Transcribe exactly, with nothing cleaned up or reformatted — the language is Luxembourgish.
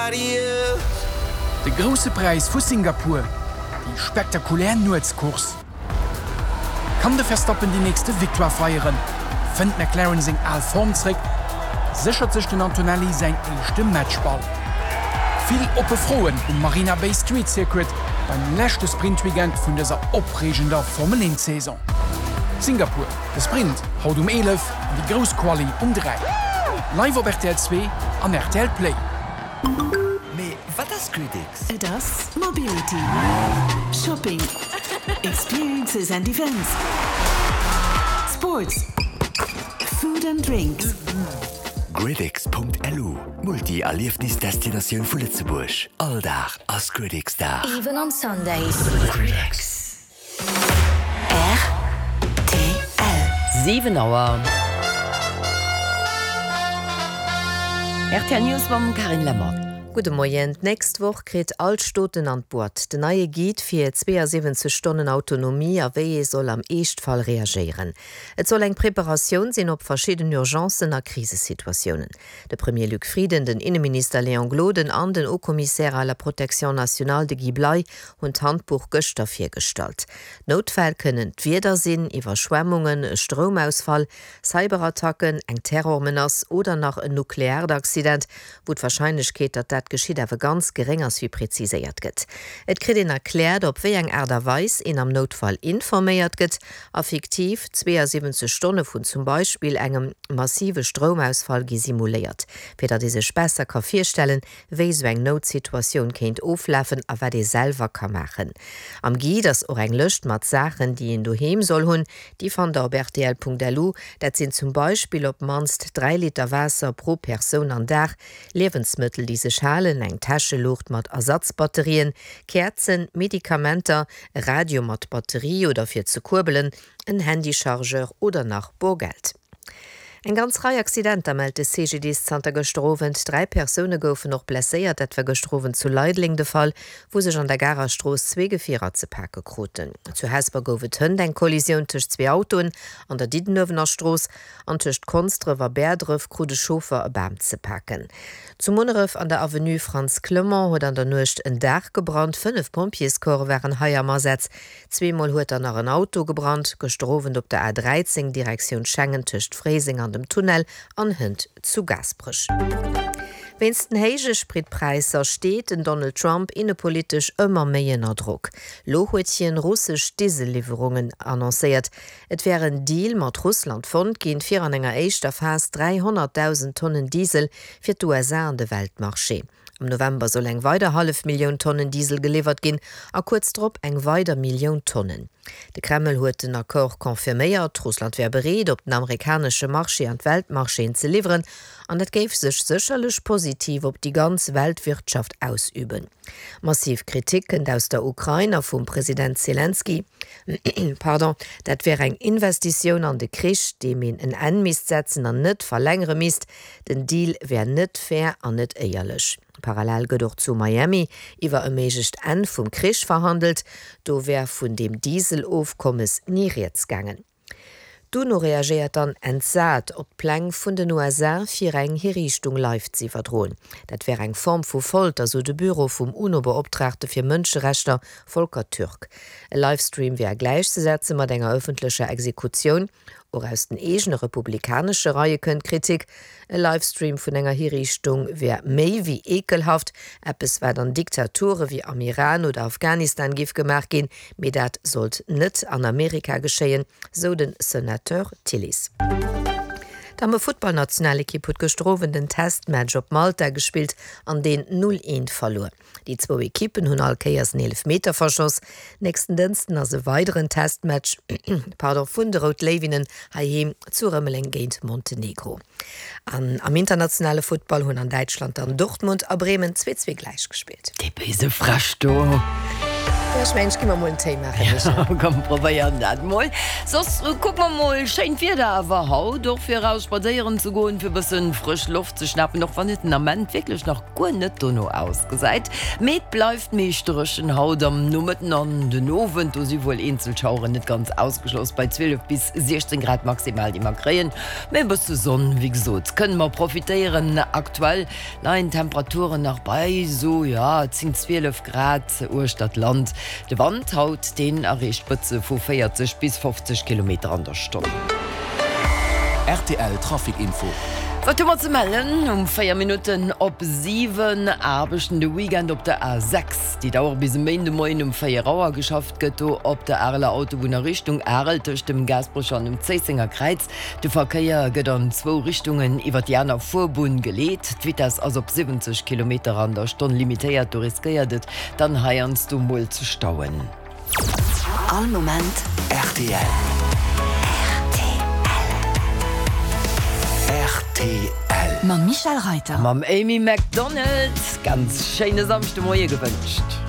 Nobody else. De Grousse Präis vu Singapur, déi spektakulär Nuetscourse. Kann de Verstappen déi nächste Victoire feieren? Fënnt McLaren seng al Form zréck? Séchert sech den Antonelli säin éischte Matchball? Vill oppe Froen um Marina Bay Street Circuit beim leschte Sprint-Weekend vun dëser opreegender Formel eent Saison. Singapur, de Sprint haut um eelef an déi grouss Quali um dräi. Live op rtl zwee an rtl Play. Mee wat ass GridX? Et ass Mobility, Shopping, Experiences and Events, Sports, Food and Drinks. GridX.lu, Multi-Erliefnis-Destinatioun vu Lëtzebuerg. All Dag ass GridX-Dag. Even on Sundays. GridX. Rtl. Siwen Auer. Rtl News mam Carine Lemmer. Gudde Moien. D'nächst Woch kritt all d'Staaten an d'Boîte den neie Guide fir zweeësiwwenzeg Stonnen Autonomie a wéi ee soll am Eeschtfall reagéieren. Et soll eng Preparatioun sinn op verschidden Urgencen a Krisesituatiounen. De Premier Luc Frieden, den Inneminister Léon Gloden an den Haut-Commissaire à la protection nationale, de Guy Bley, hunn d'Handbuch gëschter virgestallt. Noutfäll kënnen d'Wieder sinn, Iwwerschwemmungen, e Stroumausfall, Cyberattacken, eng Terrormenace oder nach en nukleaart Accident, wou d'Warscheinlechkeet, datt dat geschitt, awer ganz geréng ass, wéi preziséiert gëtt. Et kritt een erkläert, op wéi eng Aart a Weis een am Noutfall informéiert gëtt a fiktiv zweeësiwwenzeg Stonne vun zum Beispill engem massive Stroumausfall gi simuléiert, fir datt ee sech besser ka virstellen, wéi esou eng Noutsituatioun kéint oflafen a wat ee selwer ka maachen. Am Guide ass och eng Lëscht mat Saachen, déi een doheem soll hunn. Déi fannt der op rtl.lu. Dat sinn zum Beispill op d'mannst dräi Liter Waasser pro Persoun an Dag, Liewensmëttel, déi sech halen, eng Täscheluucht mat Ersatzbatterien, Käerzen, Medikamenter, e Radio mat Batterie oder fir ze kuerbelen, en Handychargeur oder nach Borgeld. Eng ganz Rei Accidenter mellt de C G D I S zanter gëschter Owend. Dräi Persoune goufen och blesséiert. Dat war gëschter Owend zu Leideleng de Fall, wou sech an der Garer Strooss zwee Gefierer ze pake kruten. Zu Hesper gouf et hënt eng Kollisioun tëscht zwee Autoen an der Diddenuewener Strooss an tëscht Konsdref a Bäerdref krut e Chauffer e Bam ze paken. Zu Munneref an der Avenue Frantz Clement huet an der Nuecht en Daach gebrannt. Fënnef Pompjeescorpse waren hei am Asaz. Zweemol huet dann nach en Auto gebrannt. Gëschter Owend op der A dräizéng Direktioun Schengen tëscht Fréiseng an dem Tunnel an hënt zu Gaasperech. Wéinst den héije Spritpräisser steet den Donald Trump innepolitesch ëmmer méi ënner Drock. Lo huet hien russesch Dieselliwwerungen annoncéiert. Et wär en Deal mat Russland fonnt ginn, fir an enger éischter Phas dräihonnertdausend Tonnen Diesel fir d'U S A an de Weltmarché. Am November soll eng weider hallef Millioun Tonnen Diesel geliwwert ginn a kuerz drop eng weider Millioun Tonnen. De Kreml huet den Accord confirméiert, Russland wär bereet, op den amerikanesche Marché an d'Weltmarchéen ze liwweren an dat géif sech sécherlech positiv op déi ganz Weltwirtschaft ausüben. Massiv Kritik kënnt aus der Ukrain a vum President Selenskyj, pardon, dat wär eng Investitioun an de Krich, deem een en Enn misst setzen an net verlängere misst. Den Deal wär net fair an net éierlech. Parallel gëtt och zu Miami iwwer e méiglecht Enn vum Krich verhandelt, do wär vun deem Dieselofkommes ni rieds gaangen. D'UNO reagéiert dann entsat op d'Pläng vun den U S A fir eng Hiriichtung live ze iwwerdroen. Dat wär eng Form vu Folter, sou de Büro vum UNO-Beoptraagte fir Mënscherechter Volker Türk. E Livestream wär gläichzesetze mat enger ëffentlecher Exekutioun. Och aus den eegene republikanesche Reie kënnt Kritik. E Livestream vun enger Hiriichtung wär méi wéi eekelhaft, eppes wat an Diktature wéi am Iran oder Afghanistan géif gemaach ginn, mee dat sollt net an Amerika geschéien, sou den Senateur Tillis. D'Damme-Futtballnationalekipp huet gëschter Owend den Testmatch op Malta gespillt an deen null eent verluer. Déi zwou Ekippen hunn all Kéiers en Eelefmeter verschoss. Nächsten Dënschden ass e weideren Testmatch pardon, vun de Rout Léiwinnen heiheem zu Rëmeleng géint Montenegro. An am internationale Futtball hunn an Däitschland dann Dortmund a Bremen zwee zwee gläich gespillt. Dee béise Fräsch do. Ech mengen, ech gi mer mol en Téi maachen, Michèle. Komm, probéieren dat mol. Soss kucke mer mol, schéint Wieder awer haut, och fir eraus spadséieren ze goen, fir e bëssen frësch Loft ze schnapen, och wann et den Ament wierklech nach guer net dono ausgesäit. Mee et bleift meescht dréchen haut am Nomëtten an den Owend, do si wuel eenzel Schaueren net ganz ausgeschloss, bei zwielef bis siechzéng Grad maximal, déi mer kréien. Mee e bësse Sonn, wéi gesot, kënne mer profitéieren. Aktuell leien d'Temperaturen nach bei esou, jo, zéng, zwielef Grad uechter d'Land. De Wand haut, deen erreecht Spëtze vu véierzeg bis fofzeg Kilometer an der Stonn. Rtl Trafic Info. Wat hu mer ze mellen um véier Minutten op siwen? Aarbechten de Weekend op der A sechs, déi dauere bis e Méindemoien um véier Auer. Geschafft gëtt do op der Areler Autobunn a Richtung Arel tëscht dem Gaasperecher an dem Zéissenger Kräiz. De Verkéier gëtt an zwou Richtungen iwwer déi aner Fuerbunn geleet. D'Vitess ass op siwwenzeg Kilometer an der Stonn limitéiert. Do riskéiert et dann heiansdo mol ze stauen. All Moment rtl. Rtl. Mam Michel Reiter. Mam Amy Macdonald. Ganz schéine Samschdemoie gewënscht.